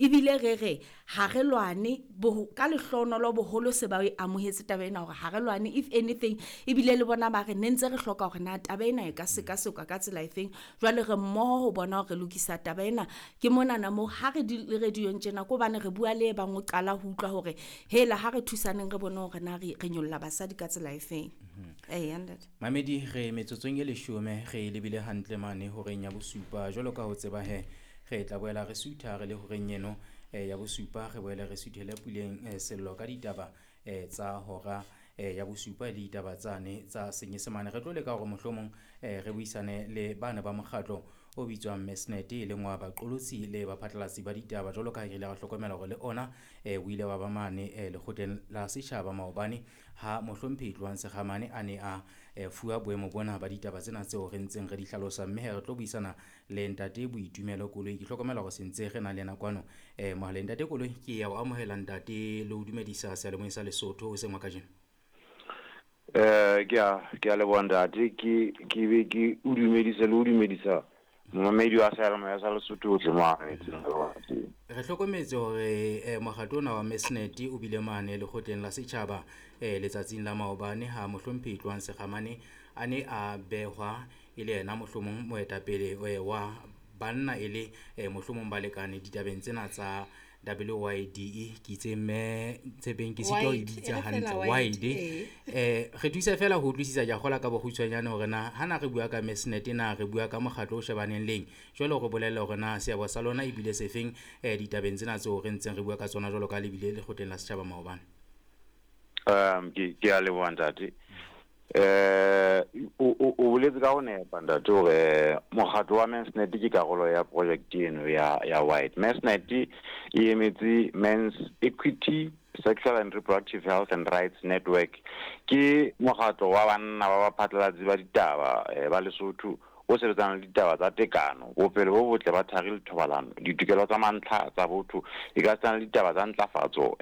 Ebile re re ha re lwane ka lehlohonolo boholo se ba e amohetse taba ena hore ha re lwane, if anything ebile le bona ba re ne ntse re hloka hore na taba ena e ka sekasekwa ka tsela efeng. Jwale re mmoho ho bona hore re lokisa taba ena. Ke monana moo ha re di le radio-ong tjena ke hobane re bua le e bang o qala ho utlwa hore hela ha re thusaneng re bone hore na re nyolla basadi ka tsela efeng. Eya ntate. Mamedi re metsotsong e leshome re lebile hantle mane horeng ya bosupa. Jwalo ka ho tseba he re tla boela re sutha re le horeng eno ya bosupa, re boele re suthele puleng sello ka ditaba tsa hora ya bosupa le ditaba tsane tsa Senyesemane. Re tlo leka hore mohlomong re buisane le bana ba mokgatlo o bitswang Mesnet, e leng wa baqolotsi le baphatlalatsi ba ditaba. Jwalo ka ha re ile ra hlokomela hore le ona o ile wa ba mane lekgotleng la setjhaba maobane ha mohlomphehi Tlohang Sekgamane a ne a fuwa boemo bona ba ditaba tsena tseo re ntseng re di hlalosa. Mme he re tlo buisana le ntate Boitumelo Koloi. Ke hlokomela hore sentse re na le yena kwano mohaleng. Ntate Koloi, ke ya o amohela ntate le ho dumedisa seyalemoyeng sa Lesotho hoseng wa kajeno. Ke a leboha ntate, ke be ke o dumedisa le ho dumedisa momamedi wa seyalemoya sa Lesotho ohle mo a mametseng le bona teng. Re hlokometse hore mokgatlo ona wa Mesnet o bile mane lekgotleng la setjhaba letsatsing la maobane ha mohlomphehi Tlohang Sekgamane a ne a behwa e le yena mohlomong moetapele wa banna e le mohlomong balekane ditabeng tsena tsa WYDE. Ke itse mme Tshepeng ke sitwa ho e Wide, bitsa e re fela hantle. wide, Wide. ee. Re thuse fela ho utlwisisa ke a kgolwa ka bokgutshwanyane hore na ha na re bua ka Mesnet na re bua ka mokgatlo o shebaneng leng. Jwale re bolelle hore na seabo sa lona ebile sefeng ditabeng tsena tseo re ntseng re bua ka tsona jwalo ka le bile lekgotleng la setjhaba maobane. Ke a leboha ntate. O boletse ka ho nepa ntate hore mokgatlo wa Mesnet ke karolo ya project eno ya Wide. Mesnet e emetse Men's Equity, Sexual and Reproductive Health and Rights Network. Ke mokgatlo wa banna ba baphatlalatsi ba ditaba ba Lesotho o sebetsanang le ditaba tsa tekano, bophelo bo botle ba thari le thobalano, ditokelo tsa mantlha tsa botho, e ka setsana le ditaba tsa ntlafatso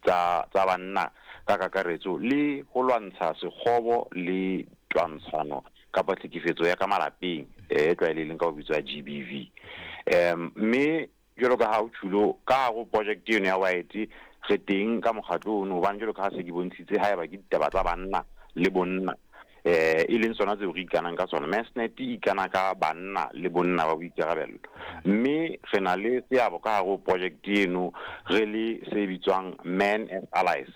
tsa banna ka kakaretso le ho lwantsha sekgobo le twantshano kapa tlhekefetso ya ka malapeng e tlwaelehileng ka ho bitswa GBV. Mme jwalo ka ha o tjhulo ka hare ho project eno ya Wide re teng ka mokgatlo ono, hobane jwalo ka ha se ke bontshitse haeba ke ditaba tsa banna le bonna e leng tsona tseo re ikanang ka tsona. Mesnet e ikana ka banna le bonna ba boikarabello, mme re na le seabo ka hare ho project eno re le se bitswang Men as Allies.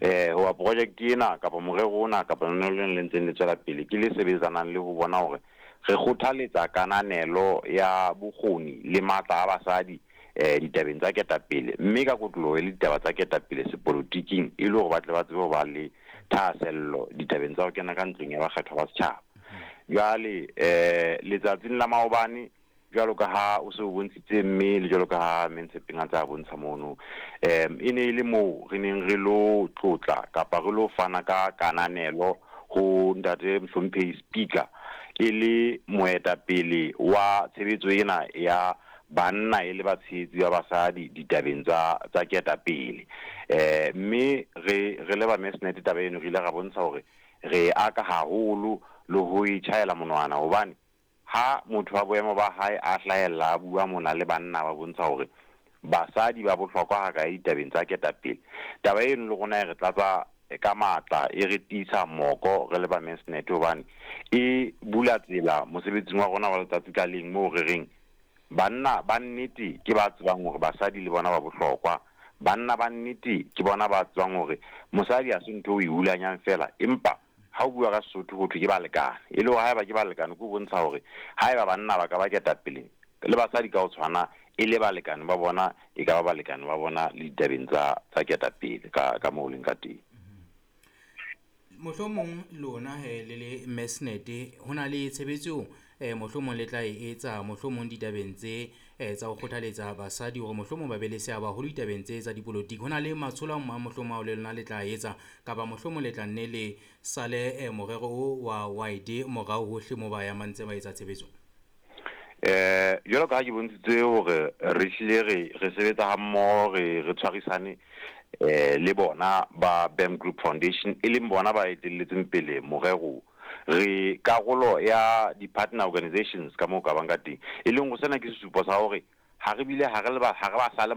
Hoba project ena kapa morero ona kapa lona le le ntseng le tswela pele ke le sebetsanang le ho bona hore re kgothaletsa kananelo ya bokgoni le matla a basadi ditabeng tsa ketapele, mme ka kotloloho e le ditaba tsa ketapele sepolotiking e le hore ba tle ba tsebe ho ba le thahasello ditabeng tsa ho kena ka ntlong ya bakgethwa ba setjhaba. Jwale letsatsing la maobane jwalo ka ha o se o bontshitse mme le jwalo ka ha mme Tshepeng a tsa bontsha mono, e ne e le moo re neng re lo tlotla kapa re lo fana ka kananelo ho ntate mohlomphehi Speaker e le moetapele wa tshebetso ena ya banna e le batshehetsi ba basadi ditabeng tsa ketapele. Mme re le ba Mesnet taba eno re ile ra bontsha hore re aka haholo le ho e tjhaela monwana, hobane ha motho wa boemo ba hae a hlahella a bua mona le banna ba bontsha hore basadi ba bohlokwa ha kae ditabeng tsa ketapele. Taba eno le rona e re tlatsa ka matla, e re tiisa moko re le ba Mesnet, hobane e bula tsela mosebetsing wa rona wa letsatsi ka leng moo re reng banna ba nnete ke ba tsebang hore basadi le bona ba bohlokwa. Banna ba nnete ke bona ba tsebang hore mosadi ha se ntho o e hulanyang fela, empa ha o bua ka Sesotho ho thwe ke balekane. E le hore haeba ke balekane, ke ho bontsha hore haeba banna ba ka ba ketapele le basadi ka ho tshwana e le balekane ba bona, e ka ba balekane ba bona le ditabeng tsa ketapele ka moo leng ka teng. Mohlomong lona he le le Mesnet ho na le tshebetso mohlomong le tla e etsa mohlomong ditabeng tse tsa ho kgothaletsa basadi hore mohlomong ba be le seabo haholo ditabeng tse tsa dipolotiki. Ho na le matsholo a mang mohlomong ao le lona le tla etsa, kapa mohlomong le tla nne le sale morero o wa Wide morao hohle moo ba yang ba ntse ba etsa tshebetso? Jwalo ka ha ke bontshitse hore re hlile re sebetsa ha mmoho, re tshwarisane le bona ba BAM Group Foundation, e leng bona ba etelletseng pele morero. Re karolo ya di-partner organizations ka moo ka bang ka teng, e leng ho sena ke sesupo sa hore Ha re bile ha re le ba ha re ba sale.